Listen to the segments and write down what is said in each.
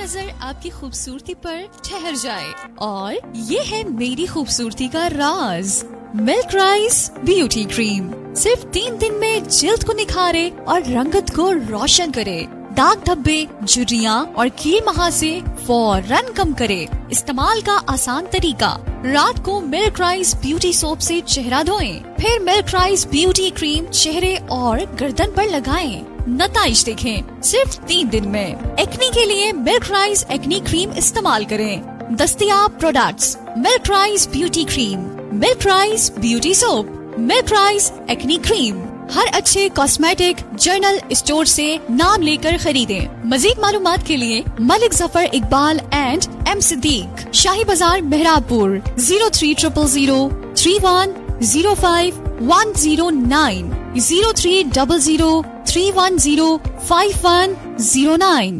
नजर आपकी खूबसूरती पर ठहर जाए और ये है मेरी खूबसूरती का राज, मिल्क राइस ब्यूटी क्रीम। सिर्फ 3 दिन में जिल्द को निखारे और रंगत को रोशन करे, दाग धब्बे, झुर्रियाँ और कील महासे फौरन कम करे। इस्तेमाल का आसान तरीका, रात को मिल्क राइस ब्यूटी सोप से चेहरा धोएं, फिर मिल्क राइस ब्यूटी क्रीम चेहरे और गर्दन पर लगाएं। नताइज देखें सिर्फ 3 दिन में। एक्नी के लिए मिल्क राइस एक्नी क्रीम इस्तेमाल करें। दस्तियाब products milk rice beauty cream, milk rice beauty soap, milk rice acne cream. हर अच्छे कॉस्मेटिक जनरल स्टोर से नाम लेकर खरीदें। मजीद मालूमात के लिए Malik Zafar Iqbal and M Siddique, Shahi Bazaar Mehrabpur, 0300 3105 109, 0300 310 5109।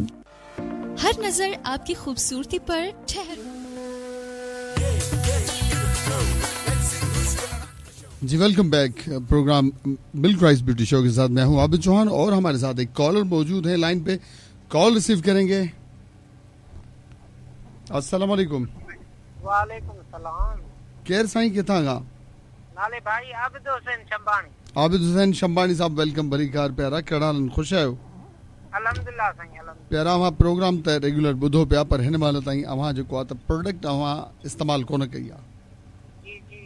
हर नजर आपकी खूबसूरती पर ठहर। जी welcome back, programme milk rice beauty show के साथ मैं हूं आबिद चौहान और हमारे साथ एक कॉलर मौजूद है लाइन पे, कॉल रिसीव करेंगे। अस्सलाम वालेकुम। वालेकुम सलाम। केर साईं किथां खां? नाले भाई आबिद हुसैन शंबानी। आबिद हुसैन शंबानी साहब welcome, भरी कार प्यारा, कहिड़ा आहिनि, ख़ुशि आहियो? अल्हम्दुलिल्लाह साईं अल्हम्दुलिल्लाह। प्यारा अव्हां प्रोग्राम त रेगुलर ॿुधो पिया, पर हिन महिल ताईं अव्हां जेको आहे त प्रोडक्ट अव्हां इस्तेमालु कोन कई आहे। जी जी,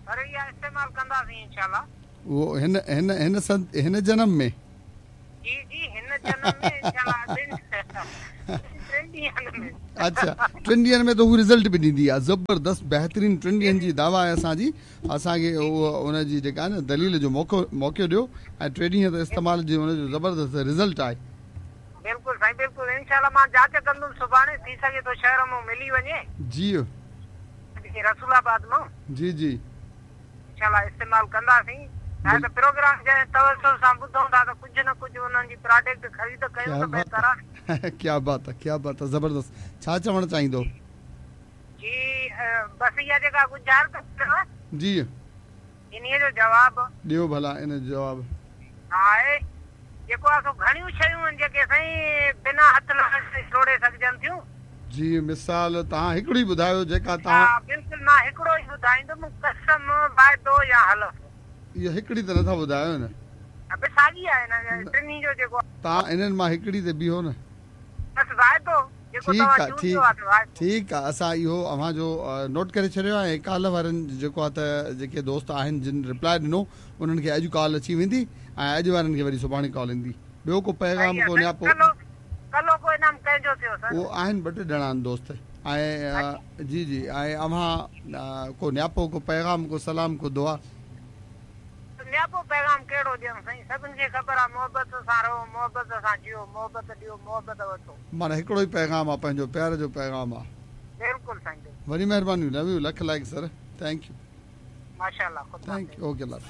पर इहा इस्तेमालु कंदासीं इंशाअल्लाह। उहो हिन हिन हिन हिन जनम में? जी जी हिन जनम में इंशाअल्लाह। टिनि ॾींहनि में। अच्छा, 3 ॾींहनि में त हू रिज़ल्ट बि ॾींदी आहे, ज़बरदस्त बहितरीन 3 ॾींहनि जी दावा आहे असांजी। असांखे उहो उनजी जेका आहे न दलील जो मौक़ो ॾियो ऐं 3 ॾींहं त इस्तेमाल जी हुनजो ज़बरदस्त रिज़ल्ट आहे। बिल्कुलु साईं बिल्कुलु, इंशाअल्लाह मां जांच कंदुमि सुभाणे, थी सघे थो शहर मां मिली वञे। जी रसूलाबाद मां। जी जी इंशाअल्लाह इस्तेमालु कंदासीं। ऐं त प्रोग्राम जंहिं तवसुल सां ॿुधूं था त कुझु न कुझु उन्हनि जी प्रोडक्ट ख़रीद कयूं त बहितर आहे। क्या बात है, क्या बात है, ज़बरदस्त। छा चवणु चाहींदो? जी बसि इहा जेका गुज़ारिश अथव जी, इन्हीअ जो जवाबु ॾियो भला। इन जो जवाबु आहे जेको आहे सो घणियूं शयूं आहिनि जेके साईं बिना हथ लॻाए टोड़े सघजनि थियूं। जी मिसाल तव्हां हिकिड़ी ॿुधायो जेका तव्हां। बिल्कुलु मां हिकिड़ो ई ॿुधाईंदुमि, कसम वाइदो या हलफ। इहो हिकिड़ी त नथा ॿुधायो न। अबे साॻी आहे न टिन्ही जो जेको। तव्हां इन्हनि मां हिकिड़ी ते बीहो न। बसि वाइदो जेको तव्हां चूंडियो आहे वाइदो। ठीकु आहे, असां इहो अव्हां जो नोट करे छॾियो आहे ऐं काल्ह वारनि जेको आहे त जेके दोस्त आहिनि जिन रिप्लाई ॾिनो उन्हनि खे अॼु कॉल अची वेंदी ऐं अॼु वारनि खे वरी सुभाणे कॉल ईंदी। ॿियो को पैगाम को न्यापो? कलो को इनाम कंहिंजो थियो सर? उहो आहिनि ॿ टे ॼणा आहिनि दोस्त ऐं जी जी। ऐं अव्हां को न्यापो, को पैगाम, को सलाम, को दुआ? न्यापो पैगाम कहिड़ो ॾियणु साईं, सभिनि खे ख़बर आहे मोहबत सां रहो, मोहबत सां जियो, मोहबत ॾियो, मोहबत वठो। माना हिकिड़ो ई पैगाम आहे, पंहिंजो प्यार जो पैगाम आहे। बिल्कुलु साईं, वॾी महिरबानी, लव you, lakh लाइक़ सर, thank you. माशाअल्लाह, thank you, okay love.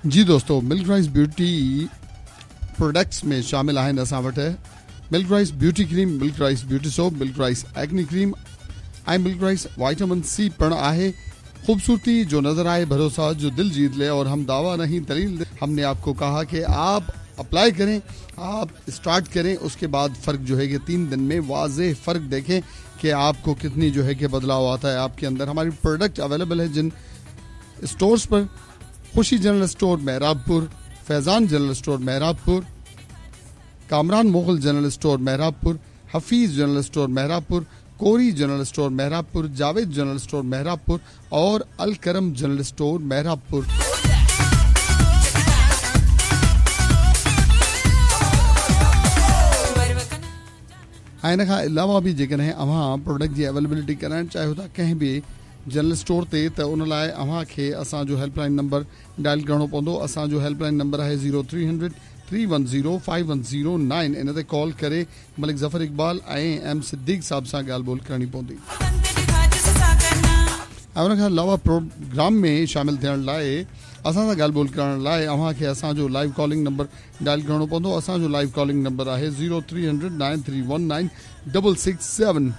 जी दोस्तों, मिल्क राइस ब्यूटी प्रोडक्ट्स में शामिल आहिनि असां वटि milk rice beauty cream, milk rice beauty soap, milk rice acne cream ऐं मिल्क राइस वाइटामिन सी पिणु आहे। खूबसूरती जो नज़र आए, भरोसा जो दिल जीत ले और हम दावा नहीं दलील दे। हमने आपको कहा कि आप अप्लाई करें, आप स्टार्ट करें, उसके बाद फ़र्क जो है कि 3 दिन में वाज़ेह फ़र्क देखें कि आपको कितनी जो है कि बदलाव आता है आपके अंदर। हमारी प्रोडक्ट अवेलेबल है जिन स्टोर्स पर, Khushi general store Mehrabpur, Faizan general store Mehrabpur, Kamran Mughal general store Mehrabpur, Hafeez general store Mehrabpur, Kori general store Mehrabpur, Javed general store Mehrabpur और अलकरम जनरल स्टोर मेहराबपुर। ऐं इन खां अलावा बि जेकॾहिं अव्हां प्रोडक्ट जी अवेलेबिलिटी कराइणु चाहियो था कंहिं बि जनरल स्टोर ते, त उन लाइ अव्हां खे असांजो हेल्पलाइन नंबर डायल करिणो पवंदो। असांजो हेल्पलाइन नंबर आहे 0300 310 5109। इन ते कॉल करे मलिक ज़फ़र इक़बाल ऐं एम सिद्दीक साहब सां ॻाल्हि ॿोल करणी पवंदी। ऐं उन खां अलावा प्रोग्राम में शामिल थियण लाइ असां सां ॻाल्हि ॿोल करण लाइ अव्हां खे असांजो लाइव कॉलिंग नंबर डायल करिणो पवंदो। असांजो लाइव कॉलिंग नंबर आहे 0300 9319667।